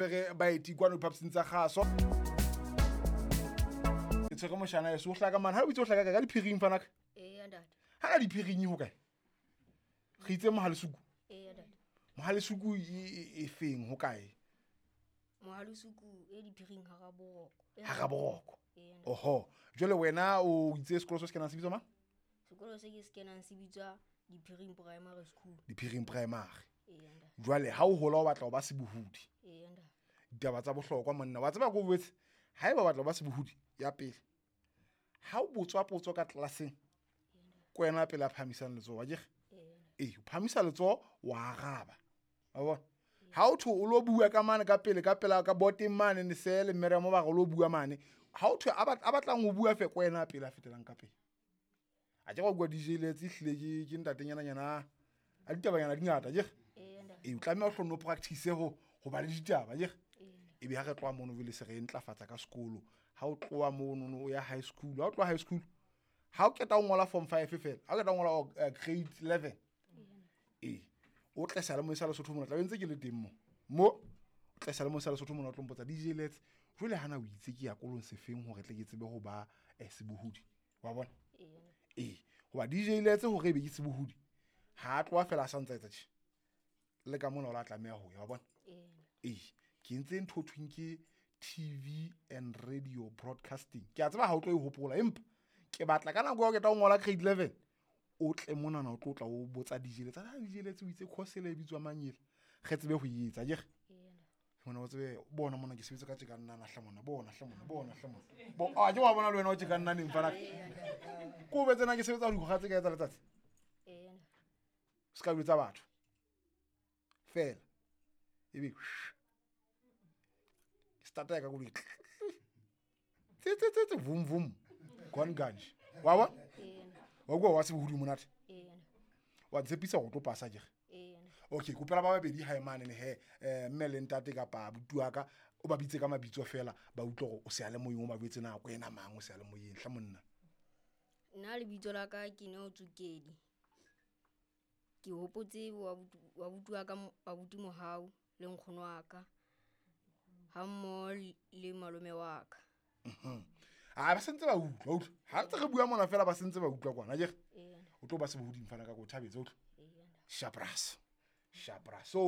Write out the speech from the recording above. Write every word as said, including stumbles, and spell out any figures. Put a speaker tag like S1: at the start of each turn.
S1: Re baeti kwano diphaposing tsa kgaso. Ke tshwere moshana eso o hlaka mane. Ha o itse o hlaka kae? Ka diphiring fanaka.
S2: Eya ntate.
S1: Ha na diphiring ho kae? Re itse Mohalesuku.
S2: Eya ntate.
S1: Mohalesuku e e feng ho kae?
S2: Mohalesuku e diphiring hara boroko.
S1: Hara boroko.
S2: Eya ntate.
S1: Oho. Jwale wena o itse sekolo se se kenang se bitswa mang?
S2: Sekolo se ke se kenang se bitswa Diphiring Primary School.
S1: Diphiring Primary.
S2: Eya ntate.
S1: Jwale ha o hola o batla ho ba sebohodi.
S2: Eya ntate.
S1: Ditaba tsa bohlokwa monna. Wa tseba ko boetse haeba o batla ho ba sebohodi ya pele. Ha o botswa potso ka tlelaseng, ke wena pele a phahamisang letsoho, akere? Ee, o phahamisa letsoho wa araba. Wa bona? Ha o thwe o lo bua ka mane ka pele ka pela ka boteng mane Nesele Miriam ba re o lo bua mane. Ha o thwe a batlang ho bua fe ke wena pele a fetelang ka pele. A ke wa bua D J Letse ehlile ke ke ntatenyana nyana a ditabanyana di ngata akere? Ee, o tlameha o hlono practice ho ho ba le ditaba akere? Ebe ha re tloha mono jwale se re ntlafatsa ka sekolo. Ha o tloha mono o ya high school, ha o tloha high school ha o qeta ho ngola form five fela, ha o qeta ho ngola grade eleven. Ee, o tle seyalemoyeng sa Lesotho mona, tla be ntse ke le teng mo. Mo o tle seyalemoyeng sa Lesotho mona o tlo mpotsa D J Letse, jwale hana o itse ke ya kolong sefeng hore tle ke tsebe ho ba sebohodi. Wa bona? Ee, hoba D J Letse hore ebe ke sebohodi, ha a tloha fela a sa ntsa etsa tje. Le ka mona o la tlameha ho ya, wa bona? Ee, ke entse ntho thweng ke T V and radio broadcasting. Ke a tseba ha o tlo e hopola, empa ke batla ka nako ya ho qeta ho ngola grade eleven, o tle monana o tlo tla o botsa D J Letse, ha D J Letse o itse course ele e bitswa mang ele? Re tsebe ho e etsa, akere? Mona o tsebe bona mona ke sebetsa ka tje ka nna hle mona, bona hle mona, bona hle mona. Bo, a ke wa bona le wena o tje ka nna neng fana. Ko betse na ke sebetsa dikgoga tse kae tsa letsatsi? Se ka jwetsa batho. Fela. Ebe starta ya ka koloi. Tse tse tse tse vum vum. Gone ganje. Wa bona? Wa bua wa sebohodi monate? Wa tshepisa hore o tlo pasa akere? Okay, kopela ba babedi hae mane ne he, eh mme le ntate kapa abuti wa ka, o ba bitse ka mabitso fela, ba utlwe hore o seyalemoyeng o ba jwetse na ko ena mang o seyalemoyeng hle monna.
S2: Nna lebitso la ka ke Neo Tsukedi. Ke hopotse wa abuti wa ka abuti Mohau le nkgono wa ka ha mmoho le malome wa ka.
S1: Mhm. Ah, ba sentse ba utlwa, utlwa. Ha ntse re bua mona fela ba sentse ba utlwa kwana, akere? O tlo ba sebohodi mfana ka ko thabetse, utlwa. Shapras. Shapras. So